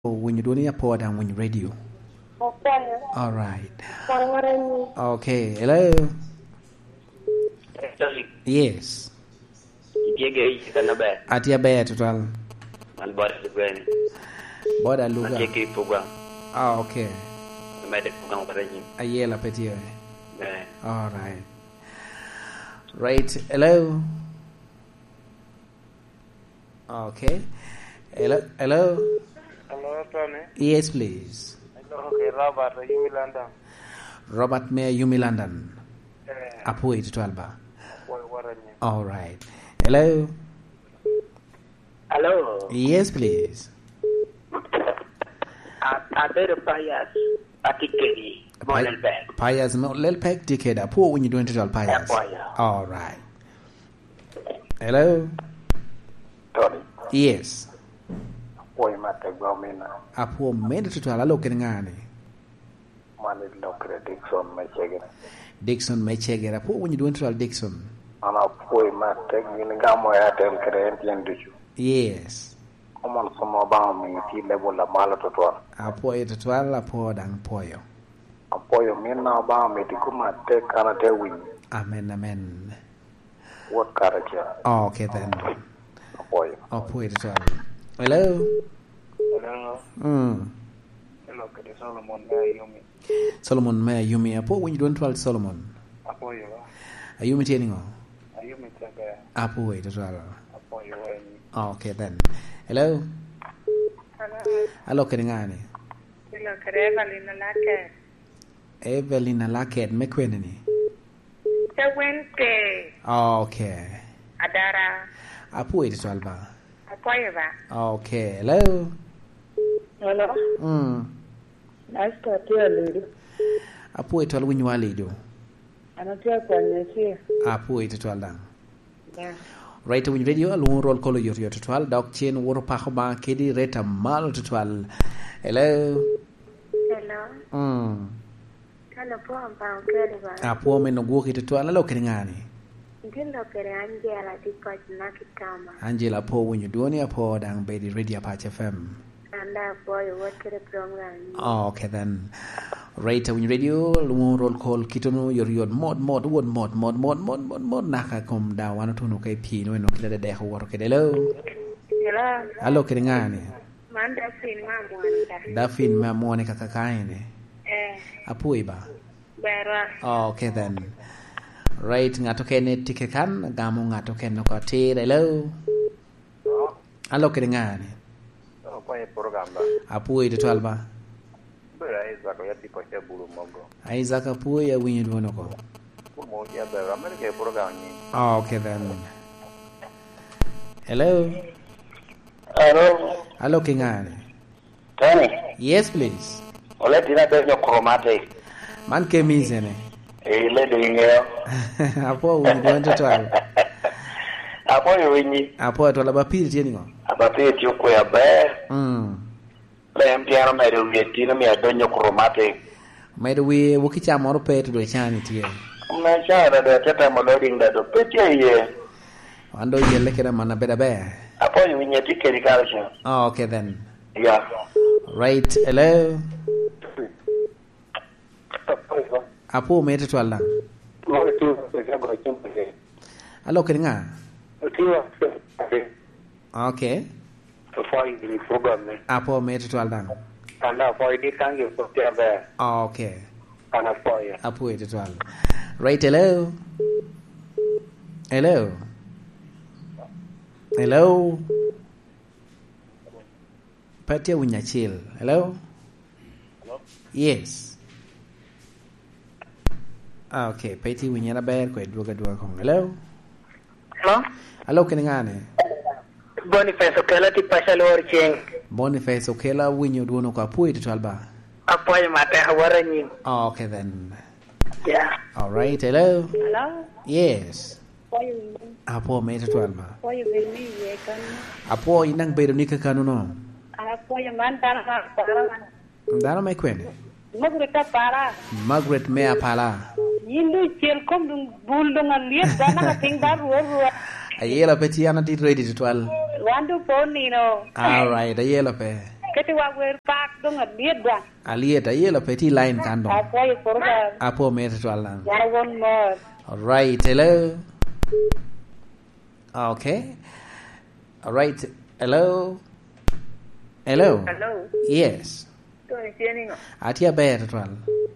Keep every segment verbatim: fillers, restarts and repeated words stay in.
Owinyo dwoni apo daŋ winyo radio. Akwanya. All right. Kwan ŋara ni. Okay, hello. Sorry. Yes. Itye ge i kan aber? Atye aber tutwal. Man boda lugwe ni. Boda luga. Atye ki program. Ah, okay. Mede program kata nyim. Ayela pe tye. Eh. All right. Right. Hello. Okay. Hello. Hello. Hello, Tony. Yes, please. Hello, okay, Robert, Yumi London. Robert me Yumi London. Eh. Apo iti twal ba. Wai, wara ni. All right. Hello. Hello. Yes, please. A-, abedo Pius, atye kedi, Pi-, Molelbek. Pius Molelbek tye kede. Apo winyo dwoni tutwal, Pius. Apoyo. All right. Hello? Tony. Yes. Apwoyo me ategwa omina. Apwo omina tutwal, alo kede ŋa ni? Man ilokere Dickson me Cegere. Dickson me Cegere. Apwo winyo dwoni tutwal, Dickson. An apwoyo me atek, gin igamo ya atel kede en tyen ducu. Yes. Komon som Obaŋa omiyo itye i level a malo tutwal. Apwoyo tutwal, apwo daŋ pwoyo. Apwoyo min na Obaŋa omito i koma atek, an ate winyo. Amen, amen. Wot karacel. Oh, okay then. Apwoyo. Apwoyo tutwal. Hello? Hello. Mm. Hello, kede Solomon me Ayumi. Solomon me Ayumi. Apwo winyo dwon twal Solomon. Apwoyo. Ayumi tye niŋo? Ayumi tye ber. Apwoyo tutwal. Apwoyo weny. Oh, okay then. Hello? Hello. Alo kede ŋa ni? Alo kede Evelyn Alake. Evelyn Alake me kwene ni? Te Wednesday. Okay. Adara. Apwoyo tutwal ba. Apwoyo ba. Okay. Hello? Hello? Mm. Nice to hear you. Apwoyo tutwal, winyo wa Alido. An atye akwanya acel. Apwoyo tutwal daŋ. Yeah. Right, winyo radio, alwoŋo roll call oyot yot tutwal, dok cen woto pako ba kedi reta malo tutwal. Hello? Hello. Mm. Kalo po Obaŋa okelo ba. Apwo me nogwoki tutwal, alo kede ŋa ni? Gin lo kede Angela tye pac na ki Tama. Angela, apwo winyo dwoni, apwo daŋ bedi Radio Apac F M. An daŋ apwoyo wot kede program ni. Oh, okay then. Right, winyo radio, lumo roll call, kitono yot yot, mot, mot, wot, mot, mot, naka kom da wan otuno ka i pii, no eno kite dedek owoto kede. Hello? Hello? Alo kede ŋa ni? Man Dafin me Amwani ka. Dafin me Amwani ka, ka, ka ene? Eh. Apwoyi ba? Berwa. Oh, okay then. Right, ŋat okene tye ke kan, gamo ŋat okene oko atir. Hello? Alo kede ŋa ni? Apwoyo program ba. Apwoyi tutwal ba. Bera Isaac, ya tipo cha bulu mogo. Isaac apwoyi, awinyo dwon oko. Kumo ya bera, Amerika e program ni. Oh, okay then. Hello? Hello. Alo ki ŋa ni? Tony. Yes, please. Ole tina be nyo chromatic. Man ke mize ni. Eh, ledo iŋeo. Apwo winyo dwon tutwal. Apwo yo winyi. Apwo tutwal, aba piri tye niŋo? Aba piri tye okwe aber. Mm. Pe en pien omedo wiye tin, omio adonyo chromatic. Omedo wiye, woki ca moro pe, to dwe can itye. Me can da, dwe te temo loading da, do pe tye iye. Wan do yelle kede man abed aber. Apwoyo winye tye kedi kare ca. Oh, okay then. Yeah. Right, hello. Apwo me tutwal daŋ. Alo kede ŋa? Okay. Apwoyo i program ni. Apwo me tutwal daŋ. An apwoyo ni kan gi pwod tye aber. Okay. An apwoyo. Apwoyo tutwal. Right, hello? Hello? Hello? Pe tye winyo acel. Hello? Hello? Yes. Ah, okay. Pe tye winyo en aber, kwe dwogo adwoga koŋ. Hello? Hello? Alo, kene ŋa ni? Boniface Okela tye paco, alwor ceng. Boniface Okela, winyo dwon oko, apwoyo tutwal ba. Apwoyo matek, awot anyim. Oh, okay then. Yeah. All right, hello? Hello? Yes. Apwoyo winyi. Apwo me tutwal ba. Apwoyo bedo ni iye kanyo. Apwo in daŋ bedo ni kakano no. Apwoyo man dano ma apara man. Dano me kwene? Margaret Apala. Margaret me Apala. Yin doŋ icel kom doŋ bul doŋ alyet dano ka piny ba rwo rwo. Ayela pe tye, an atye ready tutwal. Wan doŋ po nino. All right, ayela pe. Keti wa wer pak doŋ adyet daŋ. Alyet, ayela pe tye i line kan doŋ. Apwoyo program. Apwo mere tutwal daŋ. Wan won mor. Alright, hello. Okay. Alright, hello. Hello. Hello. Yes. Tony tye niŋo? Atye aber tutwal.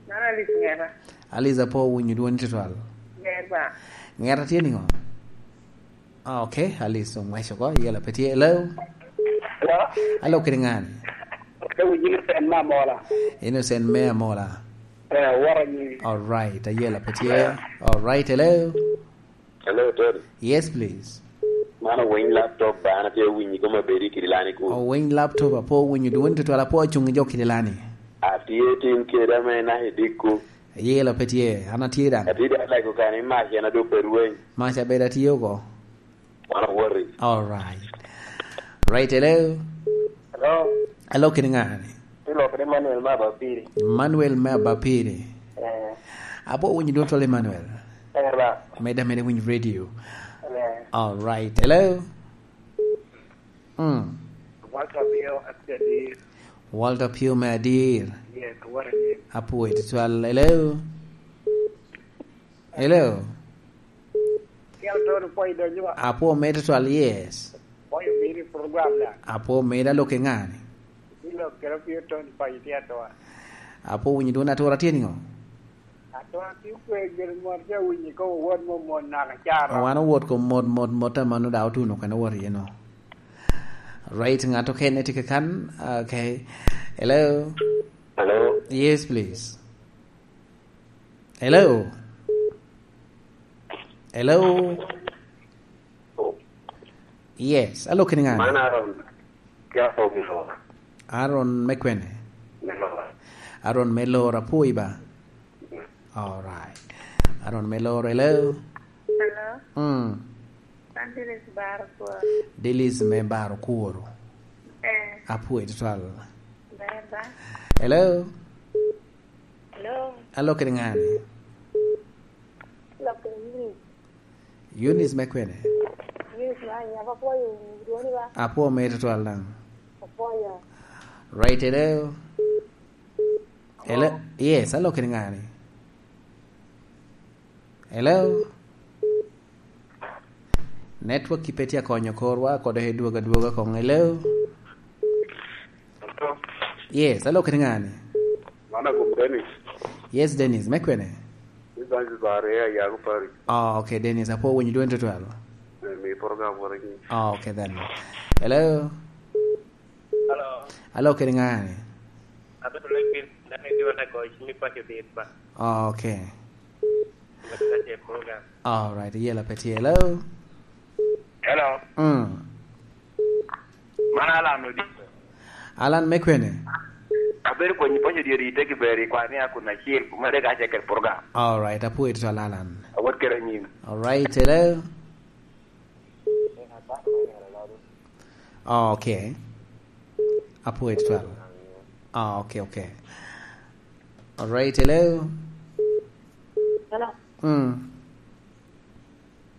Mano Alice ŋeta. Alice apwo winyo dwoni tutwal. Ŋer ba. Ŋeta tye niŋo? Ah, okay, Alice oŋweco oko, yela pe tye. Hello? Hello? Alo kede ŋani? Ka winyo ni Sen me Amola. Innocent me Amola. Eh, wara nyiri. All right, ayela pe tye. All right, hello? Hello, Tony. Yes, please. Man owiny laptop ba, an atye winyi koma bedi kidi lani ku. Owiny laptop, apo winyo dwoni tutwal, apo acungi jo kidi lani. Atye tin kede ame naka i dikku. Yela pe tye, an atye daŋ. Atye daŋ lego kani mac en adok pe rweny. Mac abedo atye oko. Wan awoti. All right. Right, hello. Hello. Hello, kini ŋani? Ti lok ni Manuel me Abapiri. Manuel me Abapiri. Eh. Apo winyo dwon tol Emmanuel. Eh, ba. Meda meda winyo radio. Eh. All right. Hello. Mm. Walter Pio atye adir. Walter Pio me adir. Yes, what a name. Apo iti twal. Hello. Hello. Kel Tony pwoyo donyo wa. Apwo mere tutwal, yes. Pwoyo bino i program na. Apwo mere, alo kede ŋani? Ilo kede pio Tony pwoyo tye atwa. Apwo winyo dwon atura tye niŋo? Atwa tye kwe gin mot ja winyo ko wot mo mon naka cara. Wan owot ko mot, mot, mot, amano da otuno kene wot iye no. Right, ŋat okene tye kakan. Okay. Hello? Hello? Yes, please. Hello? Hello? Yes, alo kini ŋani? Man Aaron. Ki Aaron me Lora. Aaron me kwene? Me Lora. Aaron me Lora, apwoyi ba? All right. Aaron me Lora, hello? Hello? Mm. An Dennis Baro Kworo. Dennis me Baro Kworo. Eh. Apwoyi tutwal. Ber ba? Hello? Hello. Alo kede ŋani? Alo kede Eunice. Eunice me kwene? Eunice me Anyaba, apwoyo wunu dwoni ba? Apwo mere tutwal daŋ. Apwoyo. Right, hello. Hello. Hello? Yes, alo kede ŋani? Hello? Network ki pe tye akonyo korwa, kode dwogo adwoga koŋ. Hello? Hello? Yes, alo kede ŋani? Mano agum Dennis. Yes, Dennis, me kwene? Ni Zanzibar, eh, Ayago Parish. Oh, okay, Dennis, apwo winyo dwoni tutwal. Eh, mi program wara ni. Oh, okay then. Hello? Hello. Alo kede ŋani? Abedo Lake Bill, dano idiwa na goyo cim i paco dit ba. Oh, okay. Mati ka ce program. All right, yela pe tye. Hello? Hello. Mm. Man Alan Odinga. Alan me kwene? Abedo konyi paco dit i Teki Beri, kwa ni akun acil, kumere ka ce kede program. All right, apwoyo tutwal Alan. Awot kede anyim. All right, hello? Oh, okay. Apwoyo tutwal. Oh, okay, okay. All right, hello? Hello. Mm.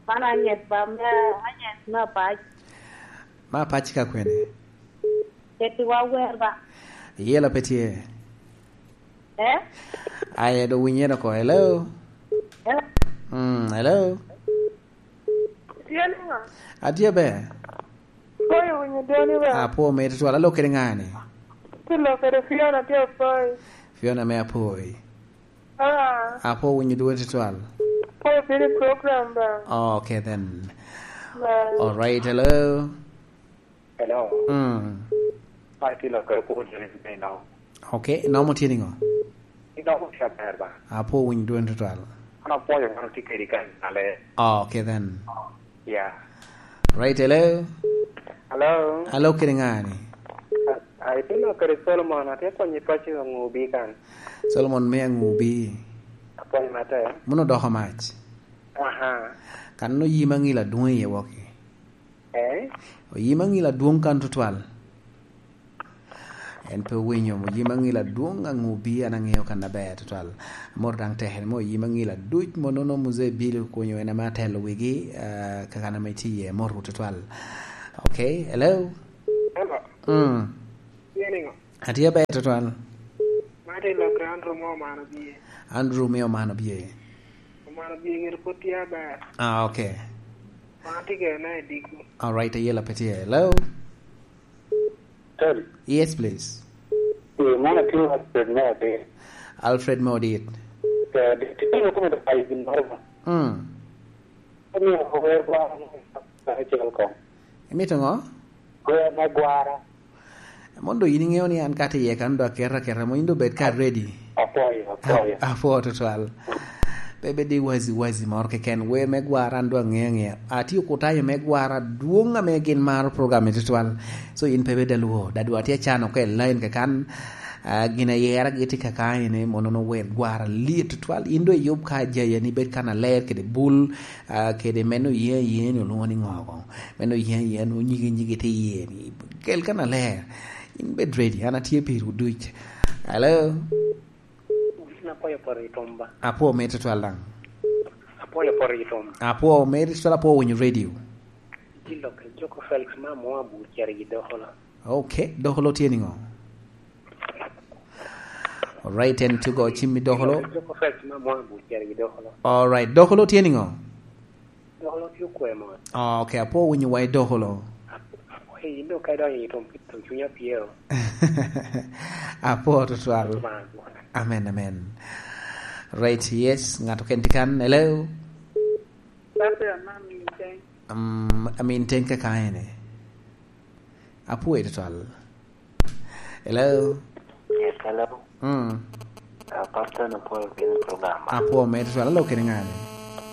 Man Anyes ba, me Anyes me Apac. Me Apac ka kwene? Keti wa wer ba. Yela pe tye. Eh? Aye do winye doko. Hello? Hello? Mm, hello? Tye niŋo? Atye ber. Koyo winyo dwoni ba? Apwo mere tutwal, alo kede ŋani? Ti lok kede Fiona tye Apoi. Fiona me Apoi. Ah. Apwo winyo dwoni tutwal. Koyo bino i program ba? Oh, okay then. Bye. All right, hello? Hello. Mm. Ai, ti lok kede Paul Dennis me Inong. Okay, Inong mo tye niŋo? Inong mo tye aber ba? Apwo winyo dwoni tutwal. An apwoyo ŋan otye kedi kan ale. Oh, okay then. Yeah. Right, hello? Hello? Hello, kede ŋani? Ai, ti lok kede Solomon, atye konyi paco Aŋubi kan. Solomon me Aŋubi. Apwoyo matek. Muno doko mac. Aha. Kan oyima ŋilo adwoŋ iye wok-ki. Eh? Oyima ŋilo adwoŋ kan tutwal. En pe owinyo, oyima ŋilo adwoŋ Aŋubi, an aŋeo kan aber tutwal. Amor daŋ tekere mo, oyima ŋilo aduc mo nono Muzee Bill okunyo en ame atelo wigi, ah, kakan ame tye iye, amor tutwal. Okay, hello? Hello. Mm. Tye niŋo? Atye aber tutwal. Martin Lok Andrew mo omano bie. Andrew me omano bie. Omano bie gire pwod tye aber. Ah, okay. Wan atye kene i Digo. All right, ayela pe tye. Hello? Tony. Yes, please. Eh, man atye Alfred me Odit. Alfred me Odit. Eh, Odit, tye kome da payo gin moro ba. Mm. Omiyo wer gwara mo acel kong. Imito ngo? Wer me gwara. Mondo in iŋeo ni an kata iye kan do aketa aketa mo, in do bed ka ready. Apwoyo, apwoyo. A-, apwoo tutwal. Pe bed i wazi wazi moro keken. Wer me gwara an do aŋeo aŋea. Atye okutayo me gwara dwoŋ ame gin maro program i tutwal. So in pe bed alwo. Dadwa tye acano oko i line kakan. Ah, gin ayera gi tye kaka ene, mono no wer gwara lit tutwal. In do iyub ka jaya ni bed kan aler kede bul, ah, kede meno ye ye ni olwoŋo ni ŋo koŋo. Meno ye ye ni onyigi nyigi tye iye ni. Kel kan aler. In bed ready. An atye piri oduc. Hello? Win apwoyo poto i tum ba. Apwoo me tutwal daŋ. Apwoyo poto i tum. Apwoo me tutwal, apwoo winyo radio. Dilo ke Joko Felix ma mwa bu ceri gi dokolo. Okay, dokolo tye niŋo? Alright, en tugo cim i dokolo. Joko Felix ma mwa bu ceri gi dokolo. Alright, dokolo tye niŋo? Dokolo tye okwe mot. Oh, okay, apwoo winyo wa i dokolo. Apwoyo in do ka idonyo i tum, tum cunya pyero. Apwoo tutwal. Amen, amen. Right, yes, ŋat oken tye kan. Hello? Barbara, ma amin teng. Um, amin teng kaka ene. Apwoyo tutwal. Hello? Yes, hello. Mm. Uh, Pastor, apwoyo kene program. Apwoo me tutwal, alo kene ŋani?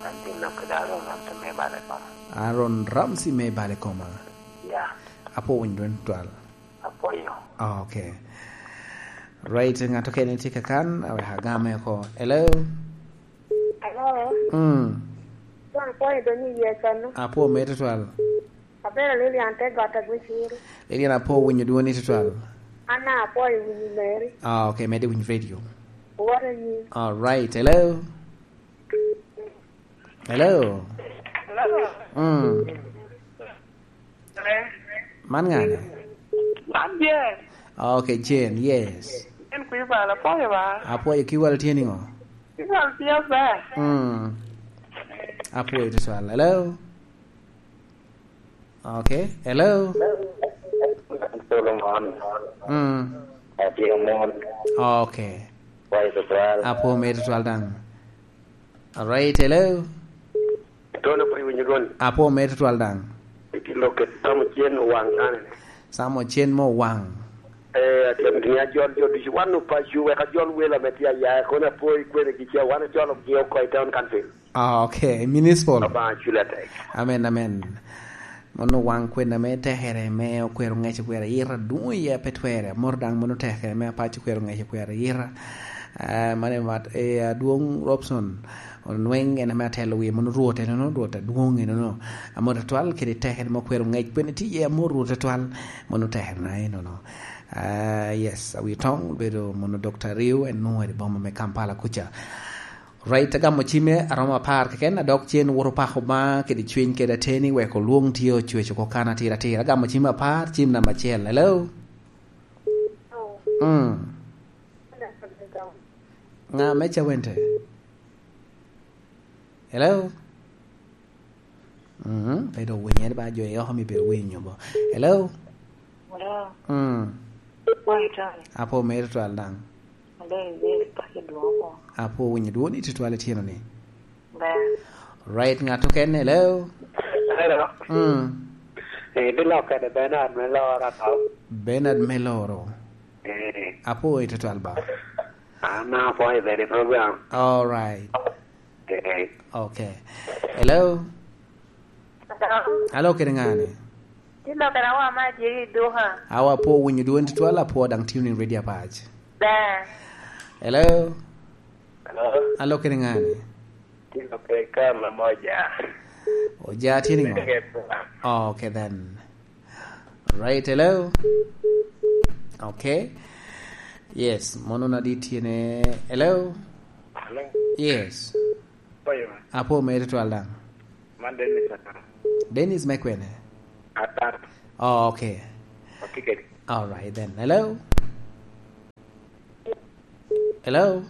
An tin lok kede Aaron Ramsey me bale koma. Aaron Ramsey me bale koma. Yeah. Apwoo winyo dwon tutwal. Apwoyo. Ah, okay. Right, ŋat okene tye kakan, awek agame oko. Hello? Hello? Mm. Dong apwoyo dong i Yecu anu. Apwoo me tutwal. Abedo Lilian te got Agwiciri. Lilian, apwoo winyo dwoni tutwal. An daŋ apwoyo winyo meri. Ah, okay, mede winyo radio. What are you? All right, hello? Hello? Hello? Mm. Hello? Man ŋani? Man Jane. Ah, okay, Jane, yes. Jane Kwibal, apwoyo ba. Apwoyo, Kwibal tye niŋo? Kwibal tye aber. Mm. Apwoyo tutwal. Hello? Okay. Hello? Solomon. Mm. Atye mon. Okay. Kwayo tutwal. Apwoo me tutwal daŋ. All right, hello? Tony, apwoo winyo dwoni. Apwoo me tutwal daŋ. Itye lok kede Sam Ocen Owaŋ kane ni. Sam Ocen mo Owaŋ. Eh, atye amito ni ajol jo ducu, wan opaco, wek ajol welo ame tye aya, kono apwoo i kwene gi ca, wan ajolo gi oko i town council. Ah, okay. Municipal. Obaŋa culi atek. Amen, amen. Mono Owaŋ kwena me tekere me okwero ŋec okwero ayira dwoŋ iye pe twere. Amoro daŋ mono tekere me apac okwero ŋec okwero ayira. Ah, mane mat, eh, adwoŋ Robson Onweng en ame atelo wie mono Rwot enono, Rwot adwoŋ enono. Amor atwal kede tekere me okwero ŋec kwene tye iye amor Rwot atwal mono tekere na enono. Ah, yes, awi toŋ obedo mono Dokta Riu en nwoŋo i boma me Kampala kuca. Right, agamo cimme aromo apar keken, adok cen woto pako Obaŋa kede cwiny kede ateni wek olwoŋ tye ocwec oko kan atira atira. Agamo cimme apar, cim namba acel. Hello? Mm. Ŋa me Cawente? Hello? Mhm, pe dok winyo, en ba jo i oko mi bino winyo bo. Hello? Hello. Mm. Wai, Tony. Apwoo mere twal daŋ. Ber, ber, paco dwoko. Apwoo winyo dwoni tutwal ityeno ni. Ber. Right, ŋat okene, hello? Hello. Mm. Eh, bilokke de Bernard me Loro, Atop. Bernard me Loro. Eh. Apwoo i tutwal ba. An apwoyo bene i program. All right. Eh. Okay. Hello? Hello? Hello, kede ŋani? Tye lok kede awa ma aje i duka. Awa, apwoo winyo dwoni tutwal, apwoo daŋ tune in radio apac. Ber. Hello? Hello? Hello, kede ŋani? Tye lok kede Kama Moja. Oja tye niŋo? Kede Kama. Oh, okay then. Right, hello? Okay. Yes, mono na di tye ne. Hello? Hello? Yes. Oyo. Apwoo mere twal daŋ. Man Dennis Atar. Dennis me kwene? Atar. Oh, okay. Atye kede. All right then. Hello? Hello?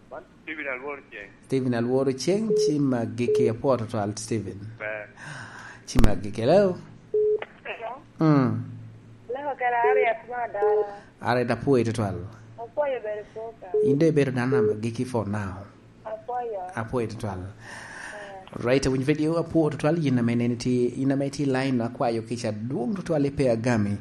Man Steven Alworo Ceng. Steven Alworo Ceng, ci maggi ki apwo tutwal, Steven. Ber. Ci maggi ki, hello? Hello? Mm. Leko kela Harriet ma Adara. Harriet, apwoyi tutwal. Apwoyo bedo poka. In de ibedo dano ame giki for now. Apwoyo. Apwoyo tutwal. Right, awinyo video apwo tutwal, yin ame neni ti, yin ame ti line akwayo kica dwong tutwal ipe agami.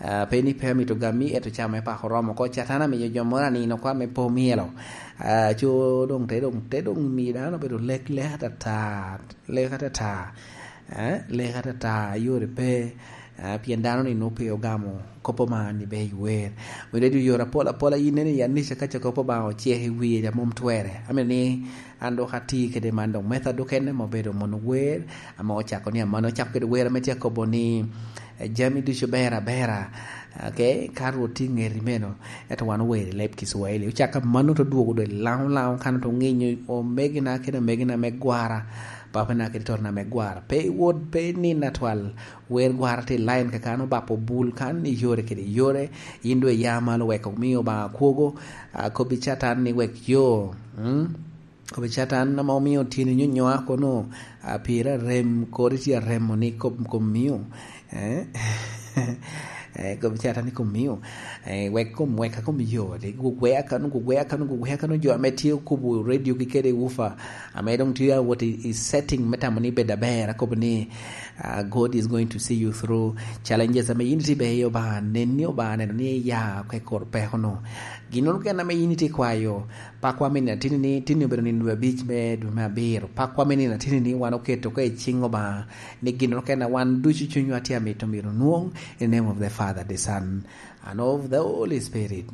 Ah, pe ni pe amito gami, eto ca me pako romo ko. Catan amiyo jo moro anino kwa me po myelo. Ah, co dong te, dong te, dong miyo dano bedo lek, lek atata, lek atata. Eh, lek atata, yore pe. Ah, pien dano ni nwoŋo pe ogamo kop Obaŋa ni ber iwer. Wede dyo yore apol apola, yin nene i anica ka ca kop Obaŋa ocek i wie, ja mom twere. Amito ni an dok ati kede man dok metha dukene ma obedo mono wer, ame ocako ni aman ocako kede wer ame tye akobo ni, eh, jami ducu ber abera. Okay, ka Rwot tye i ŋeti meno, ento wan ower i leb Kicwahili. Ocako aman oto dwogo dwe laŋo laŋo kan oto ŋinyo omegina kede omegina me gwara, papana kede totona me gwara. Pe iwot, pe nino atwal, wer gwara tye i line kaka an obako bul kan i yore kede yore, yin dwe ya malo wek omi Obaŋa kwogo, ah, kobbi Catan ni wek yo, mm? Kobbi Catan ame omio tyeni nyonyoa kono, ah, pire arem, kodi tye aremo ni kom, kom mio, eh? Eh, kobbi Catan ni kom mio, eh, wek kom weka kom yo, de gugwea kano, gugwea kano, gugwea kano, jo ame tye okubo radio gi kede wufa, ame dong tye awot i, i setting me tamo ni bed aber, akobo ni, ah, God is going to see you through challenges ame yin itye iye, Obaŋa nen ni Obaŋa neno ni iya oko i kor peko no. Ginnoro kene ame yin itye ikwayo, pakwa me nino atini ni, tini obedo nino dwe abic me dwe me abiro. Pakwa me nino atini ni wan oketo oko i ciŋ Obaŋa, ni ginnoro kene wan ducu cunywa tye amito myero onwoŋ, in the name of the Father, the Son, and of the Holy Spirit.